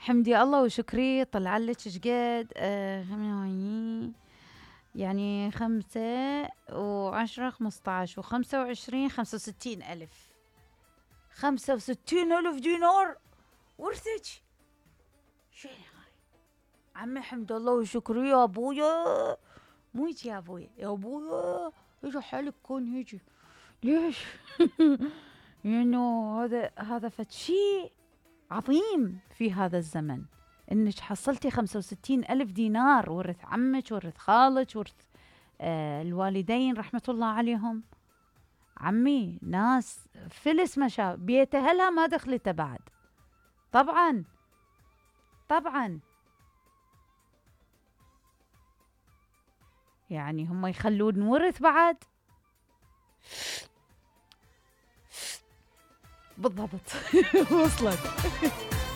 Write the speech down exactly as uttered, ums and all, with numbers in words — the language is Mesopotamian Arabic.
حمدي الله وشكري طلع لك شقد آه يعني خمسة وعشرة خمسطعش وخمسة وعشرين خمسة وستين ألف. خمسة وستين ألف دينار ورثك. شنو هاي عمي حمد الله وشكري يا ابويا. مو هيك يا ابويا، يا ابويا اجى حالك كون هيجي. ليش؟ لانه هذا هذا فد شيء عظيم في هذا الزمن، انك حصلتي خمسة وستين ألف دينار، ورث عمك ورث خالك ورث آه الوالدين رحمة الله عليهم. عمي ناس فلس ما شاء بيت أهلها ما دخلته بعد. طبعا طبعا يعني هم يخلون ورث بعد. بالضبط. وصلت.